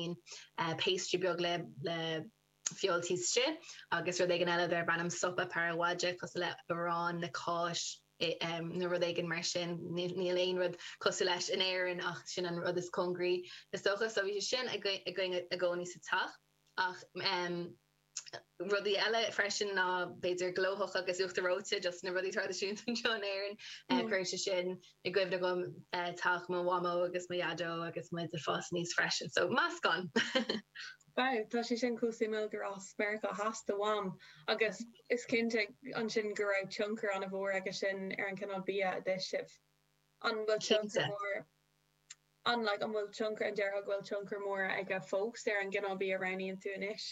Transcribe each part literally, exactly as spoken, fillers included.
cineáilín pastry beag le le feoil taobh istigh agus rud éigin eile darb ainm sopa paraguaya cosúil le arán le cáis nó rud éigin mar sin. Níl aon rud cosúil leis in Éirinn ach sin an rud is cóngaraí is dócha. So bhí sé sin againn i gcónaí sa teach ach rudaí eile freisin ná b'fhéidir glóthach agus uachtar reoite, just na rudaí traidisiúnta anseo in Éirinn. Cuireann sé sin i gcuimhne dom teach mo mhamó agus mo dhaideo agus muid ag fás aníos freisin. So meascán! Wow, tá sé sin chomh suimiúil gur as Meiriceá Theas do mham agus is cinnte ansin go raibh tionchar an-mhór aige sin ar an cineál bia a d'ith sibh. An bhfuil tionchar Cinnte. mór an like an bhfuil tionchar an déarfá go bhfuil tionchar mór aige fós ar an gcineál bia a roghnaíonn tú anois?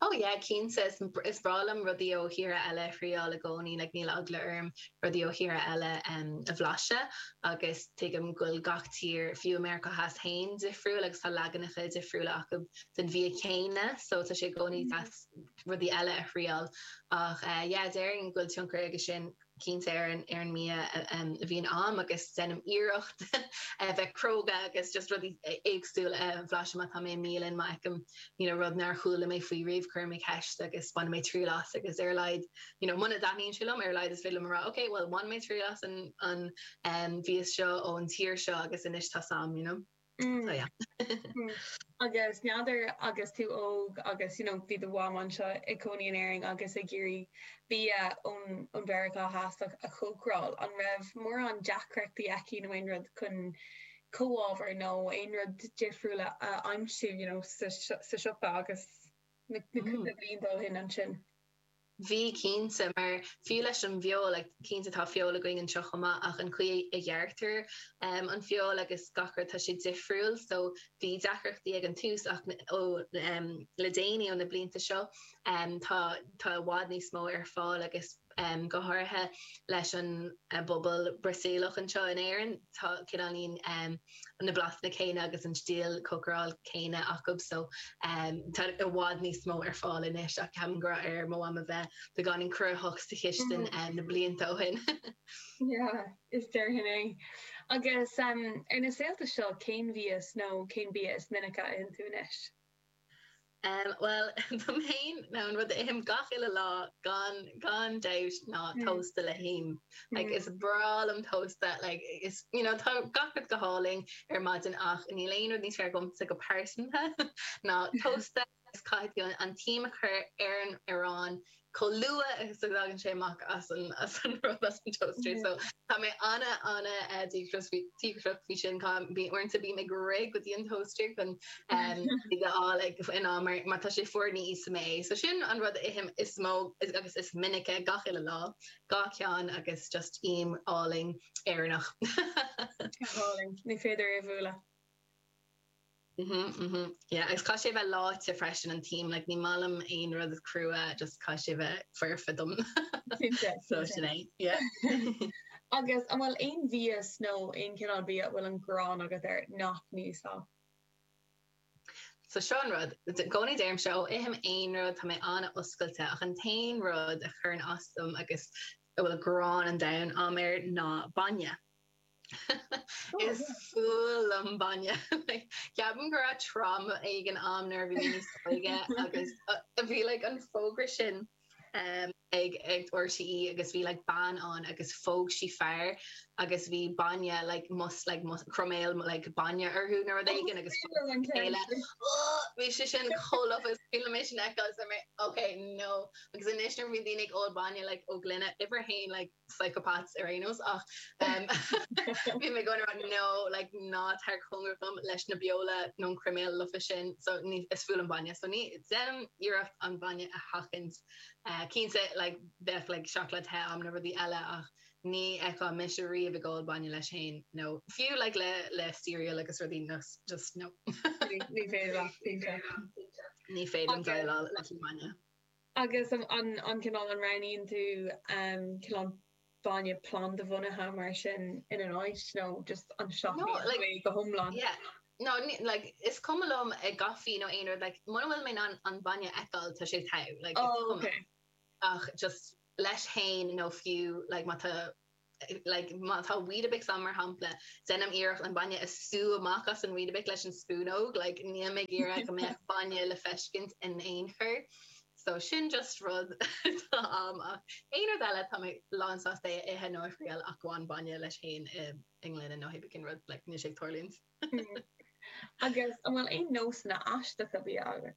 Oh yeah, cinnte. Is is breá liom rudaí ó thíortha eile a thriáil i gcónaí, like níl eagla orm rudaí ó thíortha eile um, a bhlaiseadh agus tuigim go bhfuil gach tír fiú Meiriceá Theas féin difriúil agus tá leaganacha difriúla acu den bhia céanna, so tá sé i gcónaí deas rudaí eile a thriáil. Ach uh, yeah, déarfainn go bhfuil tionchar aige sin cinnte ar an ar an mbia a bhíonn a'm agus déanaim iarracht a bheith cróga agus just rudaí éagsúla a bhlaiseadh má tá mé i mbialann má fheicim you know rud nár chuala mé faoi riamh cuirim mé ceist agus bainim mé triail as agus ar a laghad you know muna dtaitníonn sé liom ar a laghad is féidir liom a rá okay well bhain mé triail as an an um, mhias seo ón tír seo agus anois tá sam you know. Mm. So yeah. Mm. Agus n'fheadar agus tú óg agus you know, bhí do mham anseo ag cónaí in Éirinn agus ag iarraidh bia ón ón Mheiriceá Theas a chócaráil, an raibh mórán deacrachtaí aici nó aon rud chun comhábhair nó aon rud difriúil a aimsiú you know, sa, sa siopa agus na, na Mm. cúpla bliain ó shin ansin. Bhí cinnte mar fiú leis an bhfeoil like, cinnte tá feoil againn anseo chomh maith ach an chaoi a ghearrtar um, an feoil agus gach rud tá sé difriúil, so bhí deacrachtaí ag an tús ach ó um, le déanaí ó na blianta seo um, tá tá i bhfad níos mó ar fáil agus um, go háirithe leis an uh, bpobal Brasaíleach anseo in Éirinn tá cineáilín um, na blasanna céanna agus an stíl cócaráil céanna acu so um, tá i bhfad níos mó ar fáil anois ach ceapaim go raibh ar mo mham a bheith beagáinín cruthaitheach sa chistin um, na blianta ó shin. Yeah, is déarfainn é. Agus um, ar na saolta seo cén mhias nó cén bia is minice a itheann tú anois? Um, well dom féin ná an rud a ithim gach uile lá gan gan dabht ná Mm. tósta le him. Like, Mm. is breá liom tósta like, is you know, tá gach rud go hálainn ar maidin ach níl aon rud níos fearr agamsa go pearsanta ná tósta is caithfidh tú an t-im a chur ar an arán chomh luath agus a thagann sé amach as an as an rud as an toaster. Mm. So tá mé ana ana uh, díograiseach faoi sin bí uaireanta bím ag rith go dtí an toaster chun um, á like, in am mar mar tá sé fuar ní íosfaidh mé. So sin an rud a ithim is mó is, agus is minice gach uile lá, dhá cheann agus just im álainn Éireannach. Álainn, ní féidir é bhualadh. Mhm, mhm. Yeah, agus caithfidh sé bheith leáite freisin an t-im, like, ní maith liom aon rud crua, just caithfidh sé bheith foirfe dom. Cinnte, So cinnte. sin é. Yeah. Agus an bhfuil aon mhias nó aon cineál bia a bhfuil an ghráin agat air nach n-íosfá? So seo an rud, i gcónaí deirim seo ithim aon rud tá mé an-oscailte ach an t-aon rud a chuireann as dom agus a bhfuil gráin an domhain a'm air ná bainne. Oh, Is yeah. fuath liom bainne. Ceapaim go raibh trauma éigin a'm nuair a bhí mé níos óige agus uh, bhí like, an fógra sin um, ag ag RTÉ agus bhí like, bean ann agus phóg sí fear agus bhí bainne like, mus like, mus croiméal like, bainne orthu nó rud éigin agus an chéile. Bhí sé sin chomh lofa bhí mé sin feiceáil mé okay no agus anois nuair bhí daoine ag ól bainne like, ó gloine uimhir haon like, psychopaths ar aon nós ach um, bhí mé going around no like ná tar cóngar dom leis na beola nó an croiméal lofa sin so ní is fuath liom bainne so ní déanaim iarracht an bainne a sheachaint uh, cinnte like bheadh like seacláid the a'm na rudaí eile ach ní fheicfeá mise riamh ag ól bainne leis féin no fiú like le le cereal agus rudaí no just no Ní féidir leat, cinnte. ní féidir Agus- déileáil leis an bainne. Agus an an an cineál an roghnaíonn tú um, cineál bainne plandabhunaithe mar sin ina áit nó just an No, like- seachnaíonn go hiomlán. Yeah. No, ní, like is cuma liom i gcaife nó aon rud like muna bhfuil mé an an bainne a fheiceáil tá sé togha like is Oh, cuma. okay. ach just leis féin nó fiú like má tá like má tá Weetabix ann mar shampla déanaim iarracht an bainne a sú amach as an Weetabix leis an spúnóg like níl mé ag iarraidh go mbeadh bainne le feiscint in aon chor so sin just rud atá agam ach aon rud eile tá mé lán sásta é a ithe nó a thriail ach gan bainne leis féin i i ngloine nó pé cén rud like níl sé ag tarlúint. Agus an bhfuil aon nósanna aisteacha bia agat?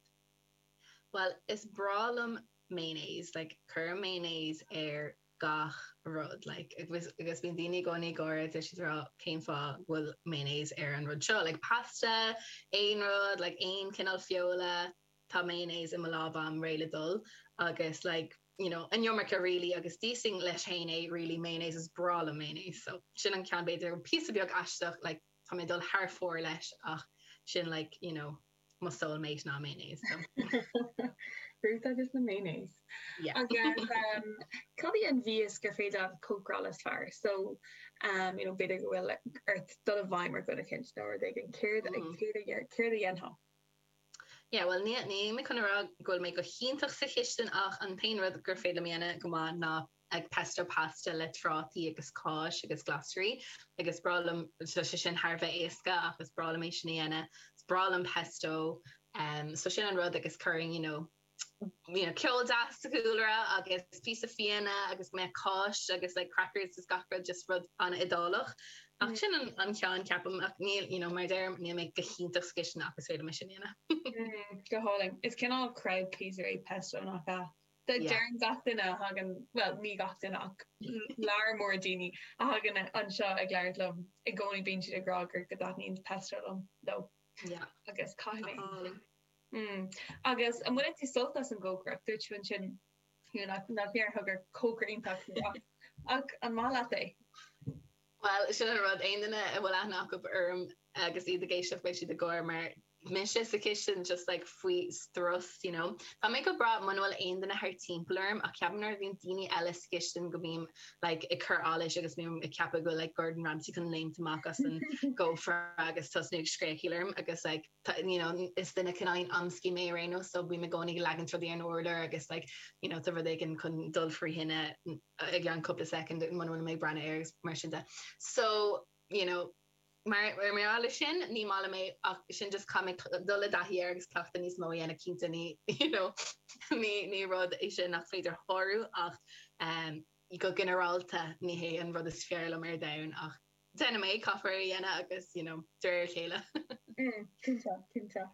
Well is breá liom mayonnaise like cuirim mayonnaise ar gach rud like agus agus bíonn daoine i gcónaí ag gáire tá siad ag rá cén fáth go bhfuil mayonnaise ar an rud seo like pasta aon rud like aon cineál feola tá mayonnaise i mo lámh agam réidh le dul agus like you know an iomarca really agus d'íosfainn leis féin é really mayonnaise is breá liom mayonnaise so sin an ceann b'fhéidir píosa beag aisteach like tá mé ag dul thar fóir leis ach sin like you know mo soulmate ná mayonnaise so. Ruth agus na mayonnaise. Yeah. Agus um, cad í an mhias gur féidir leat cócaráil is fearr? So um, you know, b'fhéidir go bhfuil ort dul i bhfeidhm ar dhuine éicint nó rud éigin céard Mm. céard a dhéar- céard a dhéanfá? Yeah, well ní ní mé chun a rá go bhfuil mé go hiontach sa chistin ach an t-aon rud gur féidir liom a dhéanamh go maith ná ag pesto pasta le trátaí agus cáis agus glasraí agus breá liom so sé sin thar bheith éasca ach is breá liom é sin a dhéanamh. Is breá liom pesto um, so sin an rud agus cuirim you know, you know, ceol deas sa chúlra agus píosa fíona agus mé cáis agus like crackers is gach rud just rud an-Iodálach. Ach Mm. sin an, an ceann ceapaim ach níl you know, mar deirim níl mé go hiontach sa chistin ach is féidir liom sin a dhéanamh. Mm, go hálainn. Is cineál crowd pleaser é pesto nach ea? De Yeah. deireann gach duine a thagann well ní gach duine ach lear mór daoine a thagann anseo ag labhairt liom i gcónaí bíonn siad ag rá gur go dtaitníonn pesto liom leo Yeah. agus caithfidh mé. Álainn. Mm. Agus an bhfuil tú sult as an gcócaireacht dúirt tú ansin you know, nach nach ndéarfá gur cócaire iontach tú ach ach an maith leat é? Well sin an rud aon duine a bhfuil aithne acu orm agus iad ag éisteacht beidh siad ag gáire mar mise sa chistin just like faoi strus you know. Tá mé go breá muna bhfuil aon duine thar timpeall orm ach ceapaim nuair a bhíonn daoine eile sa chistin go mbím like ag cur allais agus bím ag ceapadh go like Gordon Ramsay chun léimt amach as an gcófra agus tosnú ag scréachaíl orm agus like tá- you know is duine cineál amscaí mé ar aon nós so bím i gcónaí ag leagan rudaí ar an urlár agus like you know tá rud éigin chun dul frí thine i gceann cúpla second muna bhfuil mé ag breathnú air agus mar sin de. So you know mar mar mar leis sin ní maith liom é ach sin just caithfidh mé dul i dtaithí air agus cleachtadh níos mó a dhéanamh cinnte ní you know ní ní rud é sin nach féidir shárú ach um, go ginearálta ní hé an rud is fearr liom ar domhan ach déanaim é caithfear a dhéanamh agus you know de réir a chéile. Mm, cinnte cinnte.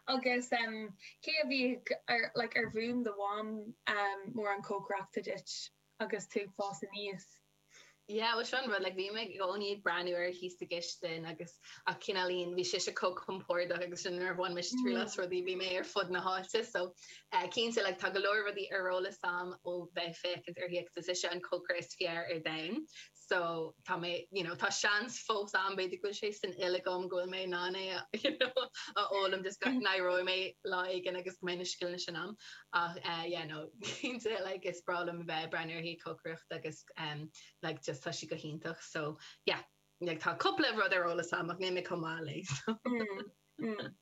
Agus um, cé a bhí ar like, ar mhúin do mham um, mórán cócaireachta duit agus tú ag fás aníos? Yeah, well sin rud like bhí mé i gcónaí ag breathnú uirthi sa gcistin agus ach cineálín bhí sise chomh compordach agus sin nuair a bhain mise triail as rudaí bhí mé ar fud na háite so uh, cinnte like tá go leor rudaí ar eolas agam ó bheith féachaint uirthi agus is ise an cócaire is fearr ar domhan so tá mé you know tá seans fós ann b'fhéidir go bhfuil sé san fhuil agam go bhfuil mé in ann é a you know a fhoghlaim just go n-éireoidh mé lá éigin agus go mbeidh na scileanna sin agam ach uh, yeah no cinnte like is breá liom a bheith ag breathnú uirthi cócaireacht agus um, like just tá sí go hiontach so yeah like tá cúpla rud ar eolas agam ach níl mé chomh maith léi so. Mm, mm.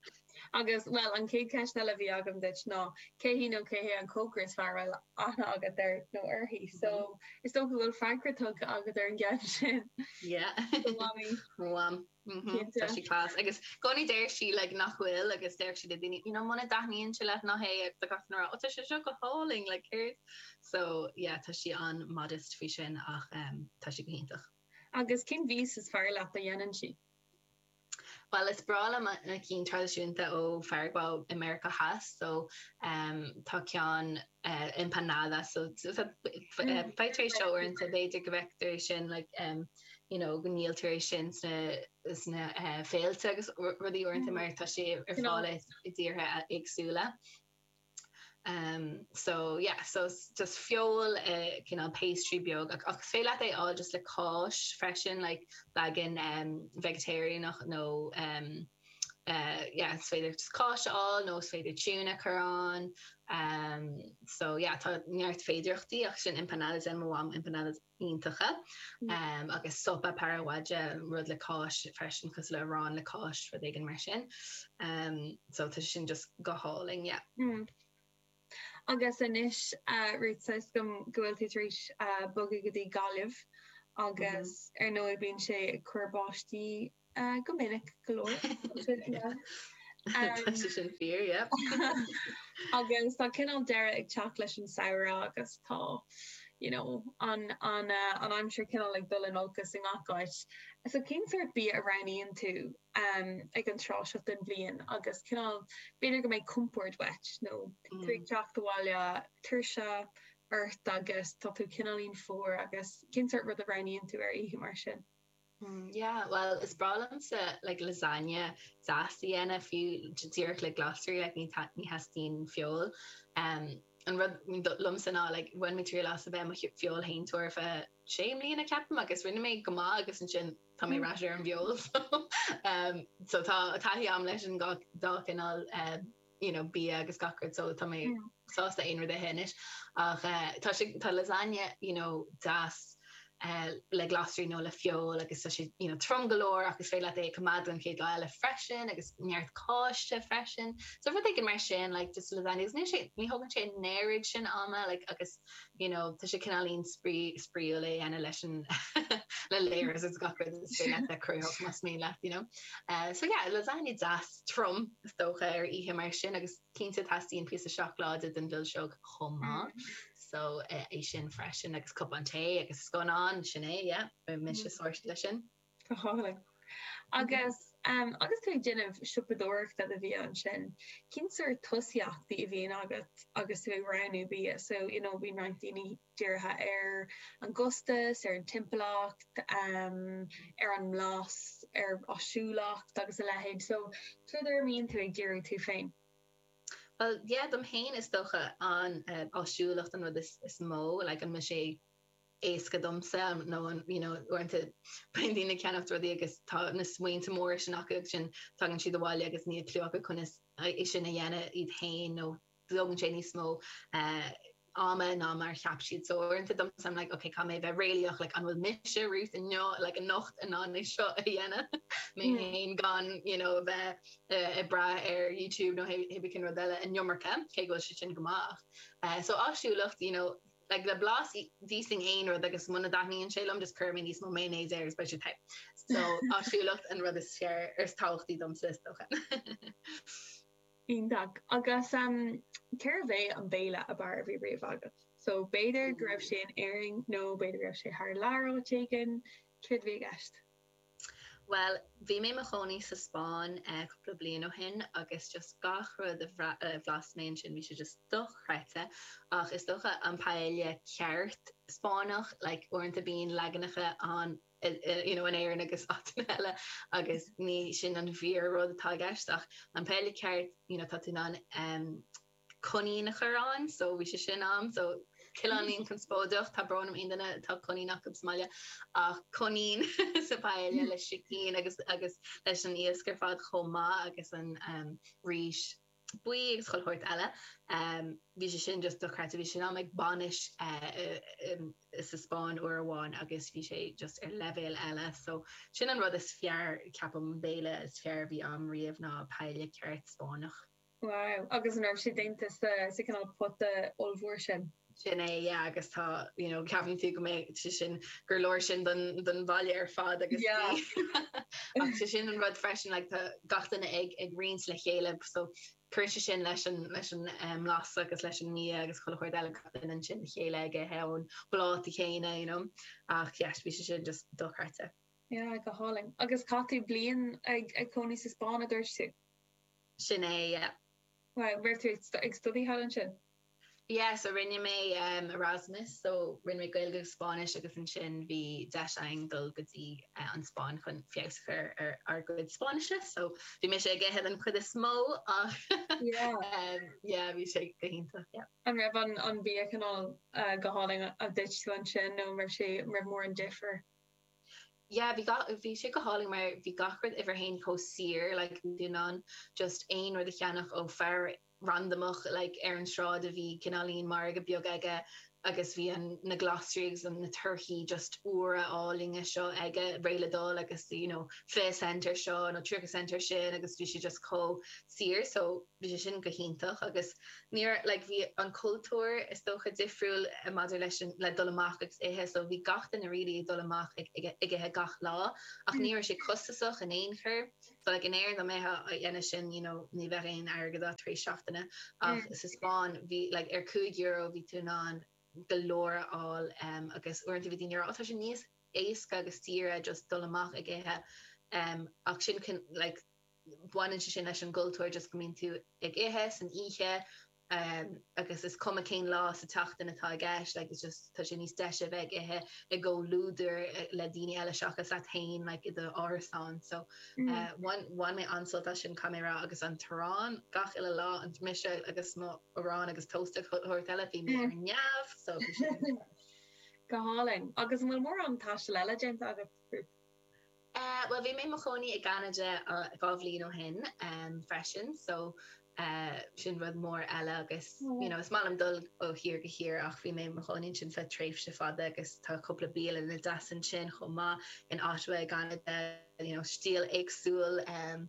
Agus well an chéad cheist eile a bhí agam duit ná cé hí nó cé hé an cócaire is fearr a bhfuil aithne agat air nó uirthi so is dócha go bhfuil freagra tugtha agat ar an gceann sin. Yeah. Do mhamaí. Mham. Mhm, Cinnte. Tá sí class agus i gcónaí deir sí like nach bhfuil agus deir sí le daoine you know muna dtaitníonn sé leat ná hé agus tá gach duine ag rá, "Ó, tá sé seo go hálainn like céard so yeah tá sí an-modest faoi sin ach um, tá sí go hiontach. Agus cén mhias is fearr leat a dhéanann sí? Well is breá liom na cinn traidisiúnta ó Pharagua i Meiriceá Theas so um, tá ceann uh, empanada so Mm. faightear é seo uaireanta b'fhéidir go bhfeictear é sin like um, you know go ndíoltar é sin sna sna uh, féilte agus ru- rudaí uaireanta Mm. mar tá sé ar Cineál- fáil i dtíortha éagsúla. Um, so yeah, so s- just feoil uh, cineál pastry beag ach ach féidir leat é fháil just le cáis freisin like leagan um, vegetarianach nó um, uh, yeah, is féidir just cáis a fháil nó is féidir tuna chur ann um, so yeah, tá neart féidearthachtaí ach sin empanadas an mo mham empanadas iontacha Mm. um, agus sopa paraguaya rud le cáis freisin cosúil le arán le cáis rud éigin mar sin um, so tá sin just go hálainn yeah. Mm. Agus anois uh, Ruth tá a fhios agam go bhfuil tú tar éis uh, bogadh go dtí Gaillimh agus ar ndóigh bíonn sé ag cur báistí uh, go minic go leor. Tá sé sin fíor, yeah. Agus tá cineál deireadh ag teacht leis an samhradh agus tá you know, an an uh, an aimsir cineál ag dul in olcas i ngach áit. So cén sórt bia a roghnaíonn tú um, ag an tráth seo den bhliain agus cineál b'fhéidir go mbeidh compord uait nó tú ag teacht abhaile tuirse ort agus tá tú cineáilín fuar agus cén sórt rud a roghnaíonn tú ar oíche mar sin. Mm, yeah, well is breá liomsa like lasagna deas a dhéanamh fiú díreach le glasraí like ní ta- ní theastaíonn feoil. Um, an rud liomsa ná like bhain mé triail as a bheith i mo feoilséantóir ar feadh sé mbliana ceapaim agus rinne mé go maith agus ansin tá mé ar ais ar an bhfeoil so um, so tá taithí agam leis an gach dá cineál um, you know, bia agus gach rud so tá mé Mm. sásta aon rud a ithe ach uh, tá sé tá lasagna you know, deas uh, le glasraí nó le feoil agus tá sé you know, trom go leor agus féidir leat é a choimeád an chéad lá eile freisin agus neart cáiste freisin. So rud éigin mar sin like just lasagna agus ní sé ní thugann sé an oiread sin ama like agus you know, tá sé cineáilín spraoi spraoiúil é dhéanamh leis an le layers agus gach rud is féidir leat a chruthú más mian leat, you know. Uh, so yeah, lasagna deas trom is dócha ar oíche mar sin agus cinnte teastaíonn píosa seacláide den mhilseog chomh maith. So uh, é sin freisin agus cupán tae agus scannán sin é, yeah, beidh mise sorted leis sin. Go hálainn. Agus um, agus tú ag déanamh siopadóireachta do bhia ansin, cén sórt tosaíochtaí a bhíonn agat agus tú ag roghnú bia, so you know, bíonn roinnt daoine dírithe ar an gcostas, ar an timpeallacht, um, ar an mblas, ar áisiúlacht agus a leithéid. So céard ar a mbíonn tú ag díriú tú féin? Well, yeah, dom féin is dócha an uh, áisiúlacht an rud is, is mó, like an mbeidh sé éasca domsa nó an you know, uaireanta bíonn daoine ag ceannacht rudaí agus tá na smaointe móra sin acu agus sin tagann siad abhaile agus níl clue acu conas é sin a dhéanamh iad féin nó tógann sé níos mó uh, ama ná mar cheap siad so uaireanta domsa I'm like okay caithfidh mé bheith réalaíoch like an bhfuil mise Ruth inniu like anocht in ann é seo a dhéanamh mé Mm. féin gan you know bheith uh, ag brath ar YouTube nó cibé cén rud eile an iomarca cé go bhfuil sé sin go maith. Uh, so áisiúlacht you know like le blas d'íosfainn aon rud agus muna dtaitníonn sé liom just cuir mé níos mó mayonnaise air agus beidh sé te. So áisiúlacht an rud is fearr is tábhachtaí domsa is dócha. Iontach. Agus um, cérbh é an béile ab fhearr a bhí riamh agat? So b'fhéidir go raibh sé in Éirinn nó b'fhéidir go raibh sé thar lear áit éigin, céard a bhí i gceist? Well, bhí mé i mo chónaí sa Spáinn uh, cúpla bliain ó shin agus just gach rud a bhra- a bhlas mé sin bhí sé just dochreidte ach is dócha an paella ceart Spáinneach like uaireanta bíonn leaganacha an i- i- you know, in Éirinn agus áiteanna eile agus ní sin an fíor rud atá i gceist ach an paella ceart you know, tá tú in ann um, coinín a chur ann, so bhí sé sin ann, so cineáilín conspóideach tá brón orm aon duine tá coinín acu sa mbaile ach coinín sa paella le sicín agus agus leis an iasc ar fad chomh maith agus an um, rís buí agus chuile shórt eile. Um, bhí sé sin just dochreidte bhí sin am ag bainis uh, um, sa Spáinn uair amháin agus bhí sé just ar leibhéal eile, so sin an rud is fearr ceapaim béile is fearr bhí agam riamh ná paella ceart Spáinneach. Wow, agus an raibh sé déanta sa sa cineál pota ollmhór sin. Sin é yeah, agus tá you know, ceapann tú go mbeidh sé sin gur leor sin don don bhaile ar fad agus Yeah. Ach sé sin an rud freisin like, tá gach duine ag ag roinnt le chéile so cuireann sé sin leis an leis an um, blas agus leis an mbia agus chuile shórt eile gach duine ansin le chéile ag ithe ón bpláta céanna you know. ach yes, bhí sé sin just dochreidte. Yeah, go hálainn. Agus chaith tú bliain ag ag cónaí sa Spáinn a dúirt tú? Sin é yeah. Wow, raibh tú ag stu- ag study thall ansin? Yeah, so rinne mé um, Erasmus, so rinne mé Gaeilge agus Spáinnis agus ansin bhí deis agam dul go dtí uh, an Spáinn chun feabhas a chur ar ár gcuid Spáinnise, so bhí mé ag ithe an chuid is mó ach Yeah. um, yeah, bhí sé go hiontach, yeah. An raibh an an bia cineál uh, go hálainn a d'ith tú ansin nó raibh sé raibh mórán difear? Yeah, bhí ga- bhí sé go hálainn mar bhí gach rud uimhir a haon chomh saor like bhí tú in ann just aon rud a cheannach ó fear randomach like ar an sráid a bhí cineáilín margadh beag aige agus bhí an na glasraí agus na torthaí just úra álainne seo aige réidh le dul agus you know fiche cent ar seo nó tríocha cent ar sin agus bhí sé just chomh saor so bhí sé sin go hiontach agus níor like bhí an cultúr is dócha difriúil maidir leis an le dul amach agus ithe so bhí gach duine really ag dul amach ag ag ag ithe gach lá ach ní raibh sé costasach in aon chor so like in Éirinn dá mbeifeá á dhéanamh sin you know ní bheadh aon airgead agat tar éis seachtaine ach sa Spáinn bhí like ar cúig euro bhí tú in ann go leor a fháil um, agus uaireanta bhí daoine ag rá, tá sé níos éasca agus saoire just dul amach ag ithe um, ach sin cun, like, baineann sé sin leis an gcultúr just go mbíonn tú ag ithe san oíche um, agus is cuma cén lá sa tseachtain atá i gceist like, it's just tá sé níos deise bheith ag ithe i gcomhluadar eh, le daoine eile seachas leat féin like, i do árasán so mm. uh, bhain bhain mé an-sult as sin caithfidh mé a rá agus an t-arán gach uile lá an mise agus mo arán agus tósta shórt eile bhí mé ar neamh so bhí sin Go hálainn. Agus an bhfuil mórán taistil eile déanta agat Ruth? Uh, well bhí mé i mo chónaí i gCeanada uh, dhá bhliain ó shin um, freisin so uh, sin rud mór eile agus you know, is maith liom dul ó thír go tír ach bhí mé i mo chónaí ansin feadh tréimhse fada agus tá cúpla bialann deas ansin chomh maith in Ottawa i gCeanada you know, stíl éagsúil um,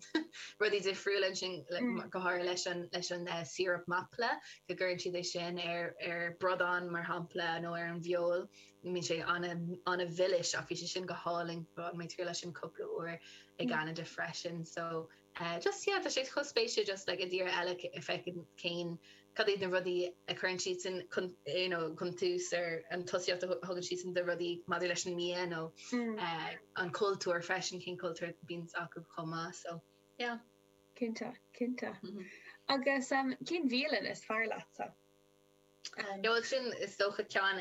rudaí difriúla ansin mm. go háirithe leis an leis an uh, syrup maple go gcuireann siad é sin ar ar bradán mar shampla nó ar an bhfeoil bíonn sé an-mhilis ach bhí sé sin go hálainn mé trí leis sin cúpla uair i gCeanada freisin so uh, just yeah, tá sé chomh spéisiúil just like, i dtír eile feiceann cén cad iad na rudaí a chuireann siad sin chun you know, chun tús ar an tosaíocht a thugann siad sin de rudaí maidir leis an mbia nó mm. uh, an cultúr freisin cén cultúr bíonn acu chomh maith so yeah. Cinnte, cinnte. Mm -hmm. Agus um, cén bhialann is fearr leatsa? Um, sin is dócha ceann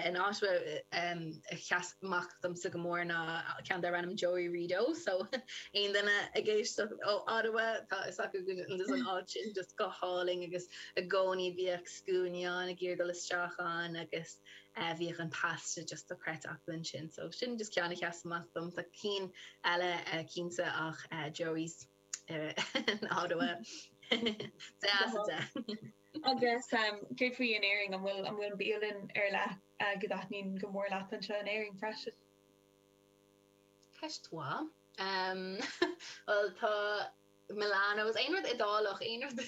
in Ottawa a sheas amach domsa go mór ná ceann darb ainm Joey Rideau so aon duine ag éisteacht ó Ottawa tá is acu an áit sin just go hálainn agus i gcónaí bhíodh scuainí ann ag iarraidh dul isteach ann agus uh, bhíodh an pasta just dochreidte acu ansin so sin just ceann a sheas amach dom tá cinn eile uh, cinnte ach uh, Joey's uh, in Ottawa. De. Agus um, céard faoi in Éirinn an bhfuil an bhfuil bialann ar leith uh, go dtaitníonn go mór leat anseo in Éirinn freisin. Ceist mhaith. Um, well tá Milano's aon rud Iodálach aon rud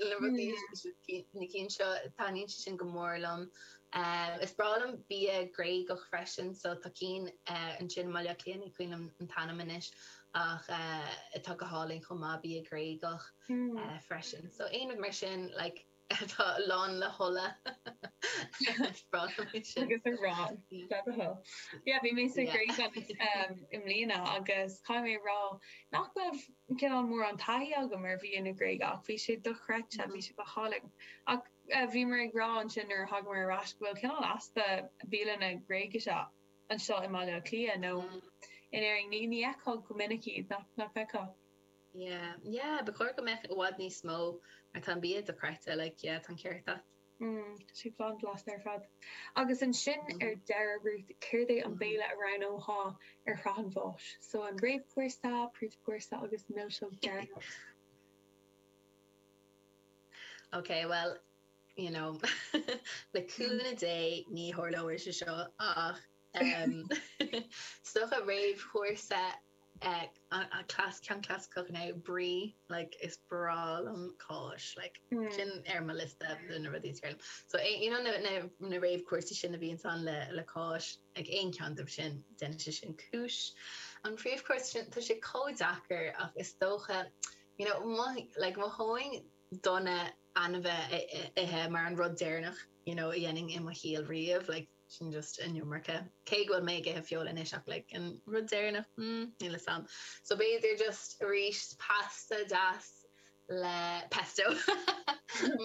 le rudaí na cinn seo taitníonn sé sin go mór liom. Um, is breá liom bia Gréagach freisin so tá cinn uh, ansin Baile Átha Cliath ní cuimhin an t-ainm anois ach uh, atá go hálainn chomh maith bia Gréagach mm. uh, freisin. So aon rud mar sin like, atá lán le hola agus arán Yeah, bhí mé sa Ghréig i mbliana agus caithfidh mé rá nach raibh cineál mórán taithí agam ar bhia na Gréige ach bhí sé dochreidte bhí sé go hálainn ach bhí mé ag rá ansin nuair a thágamar ar ais go bhfuil cineál easpa bialanna Gréigise anseo i mBaile Átha Cliath nó in Éirinn ní ní fheicfeá go minic iad nach nach bhfeicfeá. Yeah, yeah, ba chóir go mbeadh i bhfad níos mó mar tá an bia dochreidte like yeah, tá an ceart agat. Mm, sé lán blasta ar fad. Agus ansin ar deireadh Ruth céard é an béile a roghnófá ar shraith an bháis. So an réamhchúrsa, príomhchúrsa agus milseog deireanach. Okay, well, you know, le cúnamh Dé ní tharlóidh sé seo ach um, is dócha réamhchúrsa uh, a class ceann clasaiceach ná brie like is breá liom cáis like mm. sin ar mo liosta de na rudaí is fearr liom. So eh, you know, na, na, na réamhchúrsaí sin a bhíonn ann le le cáis ag aon cheann díobh sin déanann sé sin cúis. An príomhchúrsa sin tá sé chomh deacair ach is dócha you know, mo, like, mholfainn duine ainmhí a ithe mar an rud deireanach you know, a dhéanfainn i mo shaol riamh like, sin just an iomarca. Cé go bhfuil mé ag ithe feoil anois ach like, an rud deireanach mm, níl a fhios agam. So b'fhéidir just arís pasta deas le pesto.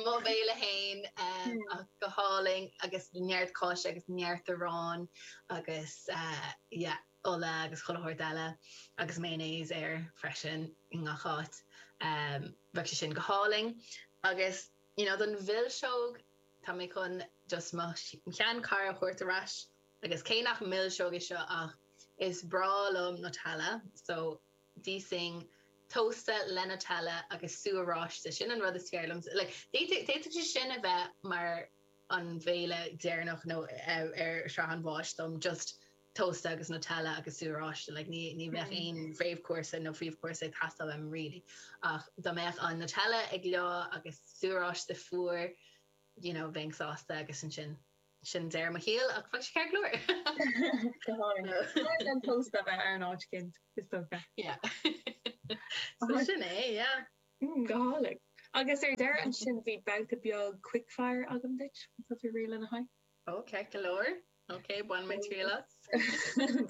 Mo bhéile féin um, ach go hálainn agus neart cáise agus neart arán agus uh, yeah, ola agus chuile shórt eile agus mayonnaise air freisin i ngach áit. Um, bheadh sé sin go hálainn agus you know, don mhilseog tá mé chun just mo sheanchara a thabhairt ar ais agus cé nach milseog é seo ach is breá liom Nutella so d'íosfainn tósta le Nutella agus sú oráiste sin an rud is fearr liom like d'fhéadfadh sé sin a bheith mar an bhéile deireanach nó ar shraith an bháis dom just tósta agus Nutella agus sú oráiste like ní ní bheadh aon réamhchúrsa nó príomhchúrsa ag teastáil uaim really ach dá mbeadh an Nutella ag leá agus sú oráiste fuar you know bheinn sásta agus ansin sin deireadh mo shaoil ach bheadh sé ceart go leor. Go háirithe. An tósta a bheith ar an áit cint is dócha. Yeah. So sin é, yeah. Mm, go hálainn. Agus ar deireadh ansin bhí babhta beag quickfire agam duit, tá tú réidh lena haghaidh? Ok, go leor. Ok, bain mé triail as.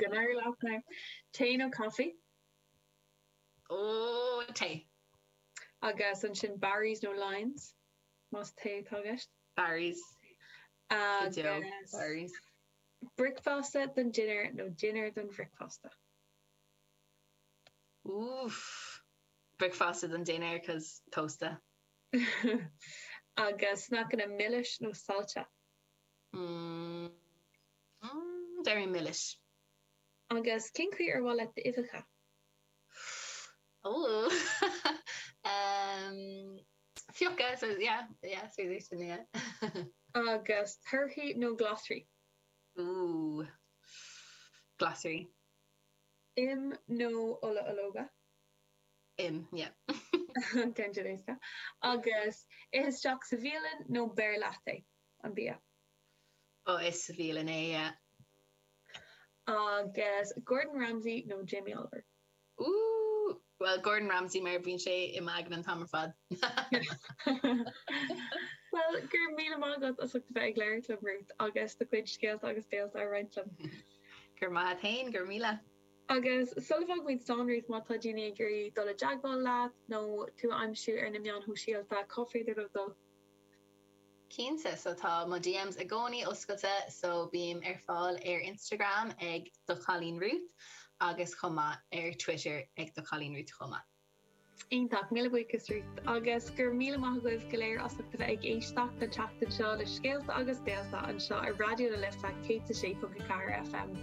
Go n-éirí leat now. Tae nó caife? Ó, tae. Agus ansin Barry's nó Lyons? Más tae atá i gceist? Barry's. Agus Barry's. Bricfeasta don dinnéar nó dinnéar don bhricfeasta? Oof. Bricfeasta don dinnéar 'cause tósta. Agus sneaiceanna milis nó saillte? Mm. Mm, Déarfainn milis. Agus cén chaoi ar mhaith leat d'uibheacha? Oh. um, Fiuchta, so yeah, yeah, so sin yeah. Agus torthaí nó glasraí? Ooh. Glasraí. Im nó ola ológa? Im, yeah. Ceann éasca. Agus ith isteach sa bhialann nó beir leat é an bia? Oh, is sa bhialann é, yeah. Agus Gordon Ramsay nó Jamie Oliver? Ooh, well Gordon Ramsay mar bíonn sé i m'aigne an t-am ar fad. Well, go raibh míle maith agat as ucht a bheith ag labhairt liom Ruth agus do chuid scéalta agus béalta a roinnt liom. Gur maith féin gur míle. Agus sula bhfágaimid slán Ruth má tá daoine ag iarraidh dul i dteagmháil leat nó tú a aimsiú ar na meáin shóisialta, cá féidir leo dul? Cinnte, so tá mo DMs i gcónaí oscailte, so bím ar fáil ar Instagram ag do chailín Ruth agus chomh maith ar Twitter ag do chailín Ruth chomh maith. Iontach míle buíochas Ruth agus gur míle maith agaibh go léir as ucht a bheith ag éisteacht an tseachtain seo le scéalta agus béalta anseo ar Raidió na Life céad a sé ponc a ceathair FM.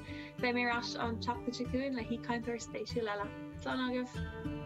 Beidh mé ar ais an tseachtain seo chugainn le haoichainteoir spéisiúil eile. Slán agaibh!